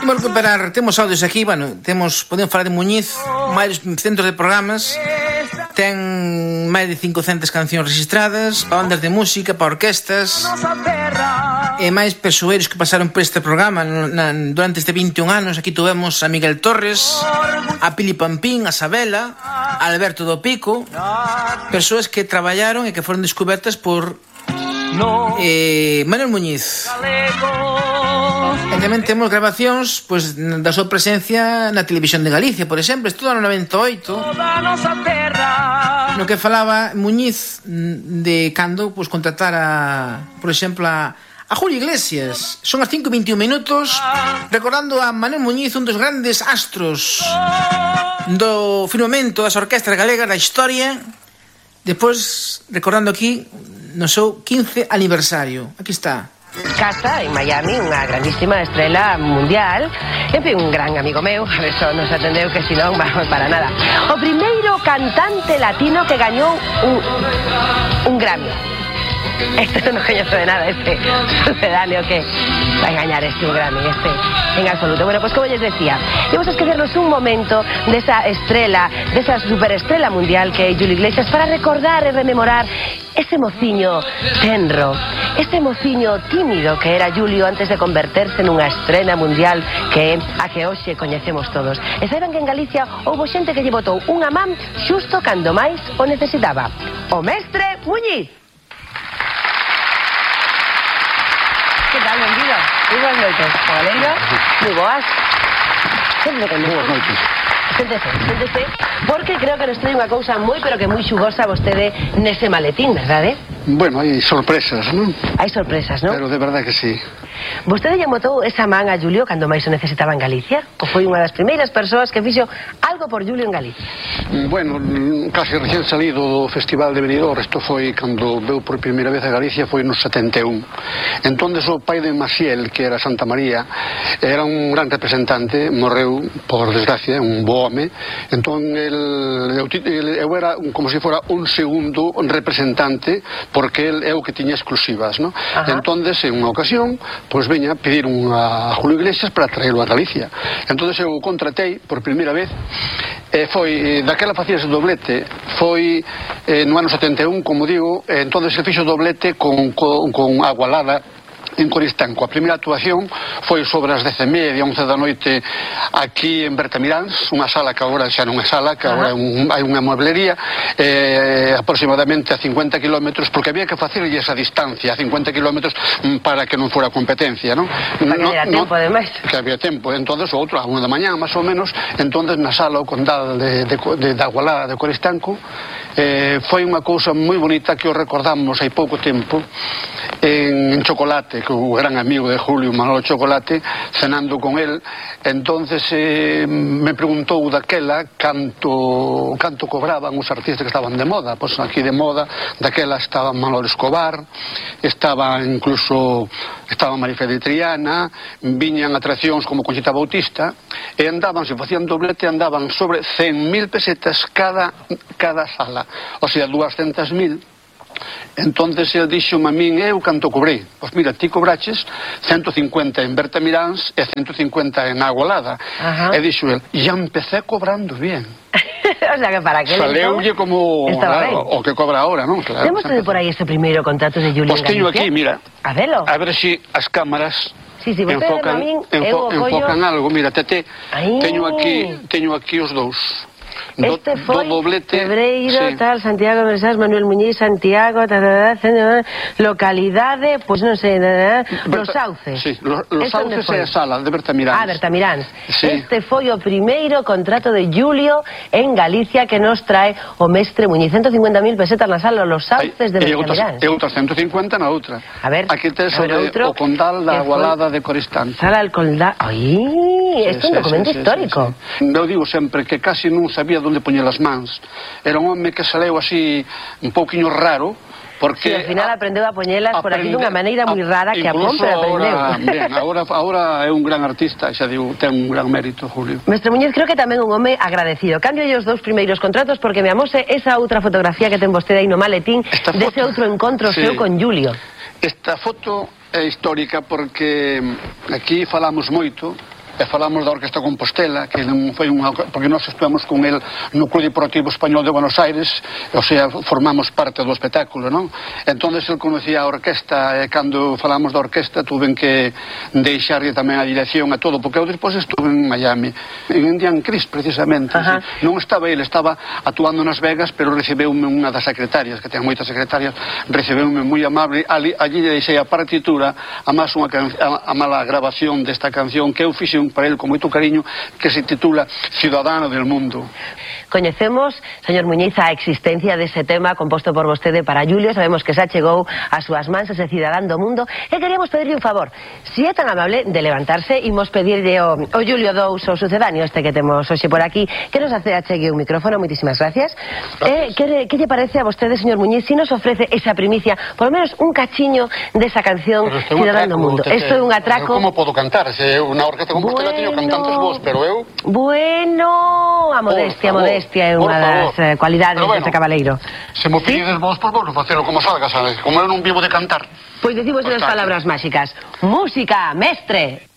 Imos recuperar, temos audios aquí, bueno, podemos falar de Muñiz, máis centros de programas, ten máis de 500 cancións registradas, para bandas de música, para orquestas, e máis persoeiros que pasaron por este programa durante este 21 anos. Aquí tuvemos a Miguel Torres, a Pili Pampín, a Sabela, a Alberto do Pico, persoas que traballaron e que foron descobertas por Manuel Muñiz. E tamén temos grabacións da súa presencia na televisión de Galicia, por exemplo, estudo no 98, no que falaba Muñiz de cando contratara, por exemplo, a Julio Iglesias. Son as 5:21 minutos, recordando a Manuel Muñiz, un dos grandes astros do firmamento das orquestras galegas da historia. Despois, recordando aquí no seu 15 aniversario. Aquí está. Casa en Miami, unha grandísima estrela mundial, en fin, un gran amigo meu, a ver, só nos atendeu que si non vamos para nada. O primeiro cantante latino que gañou un Grammy. Este non coñezo de nada, este sucedáneo que vai gañar un Grammy, en absoluto. Bueno, pues como les decía, vamos a esquecernos un momento desa estrela, desa superestrela mundial que é Julio Iglesias, para recordar e rememorar ese mociño tenro, ese mociño tímido que era Julio antes de converterse nunha estrela mundial que é a que hoxe coñecemos todos. E saiban que en Galicia houbo xente que lle botou unha man xusto cando máis o necesitaba. O mestre Muñiz. Que tal, benvido? Moi boas noites, cabaleiro. Moi boas. Sempre con boas noites. Séntese, porque creo que nos trae unha cousa moi, pero que moi xugosa vostede nese maletín, verdade? Bueno, hai sorpresas, non? Hai sorpresas, non? Pero de verdade que sí. Vostede lle botou esa man a Julio cando máis o necesitaba en Galicia? Ou foi unha das primeiras persoas que fixo algo por Julio en Galicia? Bueno, casi recién salido do Festival de Benidorm, isto foi cando veu por primeira vez a Galicia, foi no 71. Entonces o pai de Maciel, que era Santa María, era un gran representante, morreu, por desgracia, un bo home. Entón, eu era como se fora un segundo representante, porque el é o que tiña exclusivas, non? Entonces, en unha ocasión, pois veña pedir a Julio Iglesias para traelo a Galicia. Entonces eu contratei por primeira vez, foi daquela facíase doblete, foi no ano 71, como digo, entonces se fixo doblete con Agualada en Coristanco. A primeira actuación foi sobre as 10:30, 11 da noite aquí en Bertamiráns, unha sala que agora xa non é sala, que agora hai unha mueblería, aproximadamente a 50 kilómetros, porque había que facerlle esa distancia a 50 kilómetros para que non fora competencia, non? Para que había tempo, ademais. Que había tempo. Entonces, outro, a 1 da mañá, máis ou menos, entonces na sala o Condal de Agualada de Coristanco, foi unha cousa moi bonita que o recordamos hai pouco tempo en Chocolate, que o gran amigo de Julio, Manolo Chocolate, cenando con él. Entonces me preguntou daquela canto cobraban os artistas que estaban de moda. Pois aquí de moda daquela estaba Manolo Escobar, estaba Marifé de Triana, viñan atraccións como Conchita Bautista, e andaban, se facían doblete, andaban sobre 100.000 pesetas cada sala, o sea, 200.000. Entonces el dixo-me a min, eu canto cobrei? Pois mira, ti cobraches 150 en Bertamiráns e 150 en Agualada. E dixo el, ya empecé cobrando bien. O sea que para que saleulle como o que cobra ahora, non? Claro, temos por aí ese primeiro contrato de Julio en Galicia? Pois teño aquí, mira. A velo. A ver se as cámaras enfocan algo. Mira, teño aquí os dous. Este foi Febreiro, tal, Santiago, Manuel Muñiz, Santiago, localidade, pois non sei, Los Sauces. Sí, Los Sauces é a sala de Bertamiráns. Bertamiráns. Este foi o primeiro contrato de Julio en Galicia que nos trae o mestre Muñiz. 150.000 pesetas na sala Los Sauces de Bertamiráns. E outras 150 na outra. A ver, aquí tes o Condal da Agualada de Coristanco. Sala del Condal. Ai, isto é un documento histórico. Eu digo sempre que casi non sabía onde poñer as mans. Era un home que saleu así un pouquiño raro, porque al final aprendeu a poñelas por aquí dunha maneira moi rara que a Pompe aprendeu. Agora é un gran artista, xa digo, ten un gran mérito, Julio. Mestre Muñiz, creo que tamén un home agradecido. Cambio os dous primeiros contratos porque me amose esa outra fotografía que ten vostede aí no maletín dese outro encontro seu con Julio. Esta foto é histórica porque aquí falamos moito e falamos da Orquesta Compostela, que non foi unha... porque nós estuvamos con el no Club Deportivo Español de Buenos Aires, o sea, formamos parte do espectáculo, non? Entón, el conocía a orquesta, e cando falamos da orquesta tuven que deixarlle tamén a dirección a todo, porque eu despois estuve en Miami, en Indian Chris, precisamente. Non estaba ele, estaba actuando nas Vegas, pero recebeume unha das secretarias, que ten moitas secretarias, recebeume moi amable, allí deixei a partitura, a máis a mala grabación desta canción que eu fixe para el con moito cariño, que se titula Ciudadano del Mundo. Coñecemos, señor Muñiz, a existencia dese tema composto por vostede para Julio. Sabemos que xa chegou ás súas mans ese Cidadán do Mundo, e queríamos pedirle un favor. Si é tan amable de levantarse, imos pedirle o Julio Dous, o sucedáneo este que temos hoxe por aquí, que nos achegue un micrófono. Moitísimas gracias. Que lle parece a vostede, señor Muñiz, si nos ofrece esa primicia, por lo menos un cachiño desa canción Cidadán do Mundo? Isto é un atraco. Como podo cantar? Se eu na Orquesta Compostela teño cantantes vos, pero eu... Bueno, a modestia é unha das cualidades deste cabaleiro. Se mo pides vos, pois vos facelo como salga, sabes? Como eu non vivo de cantar. Pois decimos as palabras máxicas. Música, mestre.